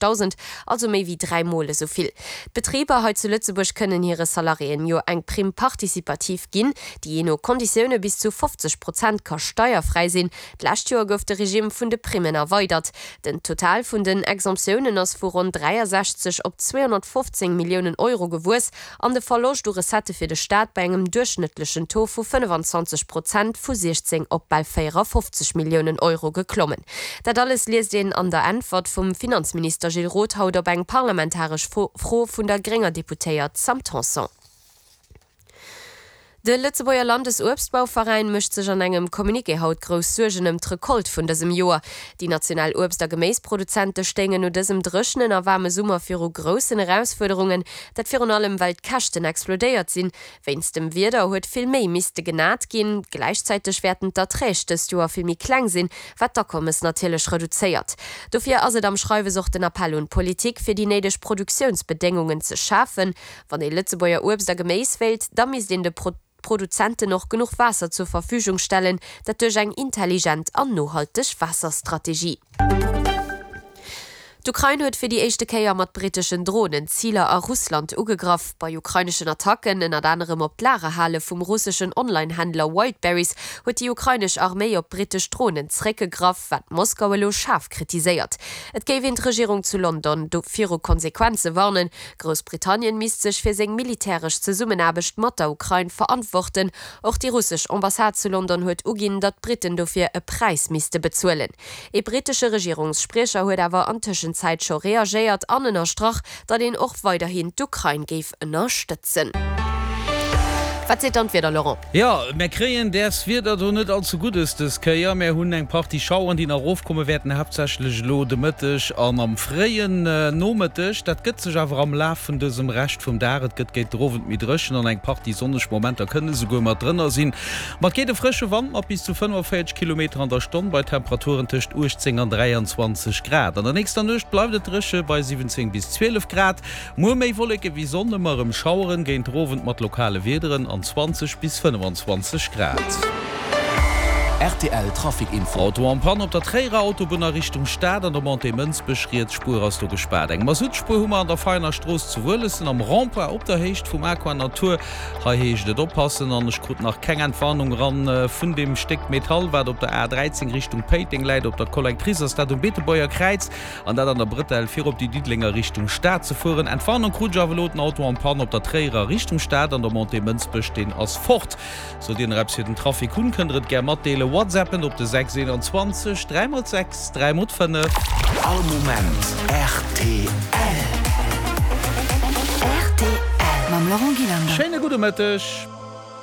1.000, also méi wéi 3 Mol esou vill. D'Betriber hei zu Lëtzebuerg kënnen hire Salariéen jo eng Prime participative ginn, déi jee no Konditioune bis zu 50 Prozent ka steierfräi sinn. D'lescht Joer gouf de Regime vun de Primmen erweidert. Den Total vun den Exemptiounen ass vu ronn 63 op 215 Milliounen Euro gewuess an de Verloscht u Recettë fir de Staat bei engem duerchschnëttlechen Taux vu 25 Prozent vu 16 op bal 54 Milliounen Euro geklommen. Dat alles liest een an der Äntwert vum Finanzminister Gilles Roth haut op eng parlamentaresch Fro vun der grénger Deputéiert Sam Tanson. De Lëtzebuerger Landesuebstbauveräin mécht sech an engem Communiqué haut grouss Suergen ëm d'Recolte vun dësem Joer. Déi national Uebst a Geméisproduzente stéingen no dësem dréchenen a waarme Summer viru groussen Erausfuerderungen. Dat virun allem well d'Käschten explodéiert sinn. Wéinst dem Wieder huet vill méi misste genat ginn. Gläichzäiteg wäerten d'Erträg dëst Joer vill méi kleng sinn, wat d'Akommes natierlech reduzéiert. Dofir ass et am Schreiwes och den Appell un d'Politik, fir déi néideg Produktiounsbedéngungen ze schafen. Wann ee Lëtzebuerger Uebst a Geméis wéilt, da misst een de Produzenten och genuch Waasser zur Verfügung stellen, dat duerch eng intelligent an nohalteg Waasserstrategie. D'Ukrain huet fir déi éischte Kéier mat britteschen Dronen Ziler a Russland ugegraff. Bei ukraineschen Attacken, ënnert anerem op d'Lagerhale vum russeschen Online-Händler Wildberries, huet déi ukrainesch Arméi op brittesch Dronen zréckgegraff, wat Moskau elo schaarf kritiséiert. Et géif een d'Regierung zu London do viru Konsequenze warnen, Groussbritannien misst sech fir seng militäresch Zesummenaarbecht mat der Ukrain verantworten. Och déi russesch Ambassade zu London huet uginn, datt d'Britten dofir e Präis misste bezuelen. Ee brittesche Regierungsspriecher huet awer an Tëschenzäit scho reagéiert an ënnerstrach, datt een och weiderhin d'Ukrain géif ënnerstëtzen. Wat seet dann d'Wieder, Laurent? Jo, mär kréien däers Wieder do net all ze Guddes dës Kéier. Mär hunn eng Partie Schaueren, déi nach erofkomme wäerten, haaptsächlech elo de Mëtteg an am fréien Nomëtteg. Dat gëtt sech awer am Laf vun dësem Rescht vum Dag. Et gëtt géint den Owend méi dréchen an eng Partie sonneg Momenter kënne souguer mat drënner sinn. Ma et geet e frësche Wand mat bis zu 45 Kilometer an der Stonn bei Temperaturen tëscht 18 an 23 Grad. An der nächster Nuecht bleift et dréche bei 17 bis 12 Grad. Muer méi Wolleke wéi Sonn, ëmmer erëm Schaueren, géint der Owend mat lokale Wiederen an 20 bis 25 Grad. Rtl Trafic Info. Auto en panne op der Tréierer Autobunn a Richtung Stad an der Montée Mënsbech. Riets Spuer ass do gespaart. Eng Masuttspuer hu mer an der Veiner Strooss zu Wuelessen am Rond-point op der Héicht vum Aqua Natur. Hei heescht et oppassen an ech krut nach keng Entwarnung eran vun deem Stéck Metall wat op der A 13 Richtung Péiteng läit. Op der Collectrice ass dat um Beetebuerger Kräiz. An dat an der Brëtell fir op déi Diddelenger Richtung Stad ze fueren. Entwarnung krut ech awer elo, den Auto en panne op der Tréierer Richtung Stad an der Montée Mënsbech, deen ass fort. Sollt Dir nach eppes fir den Trafic hunn, kënnt der et gär matdeelen. Whatsappen op de 6 21 3 x 6 3 x 5. All Moment rtl. Rtl mam Laurent Gillander. Schéine gudde Mëtteg.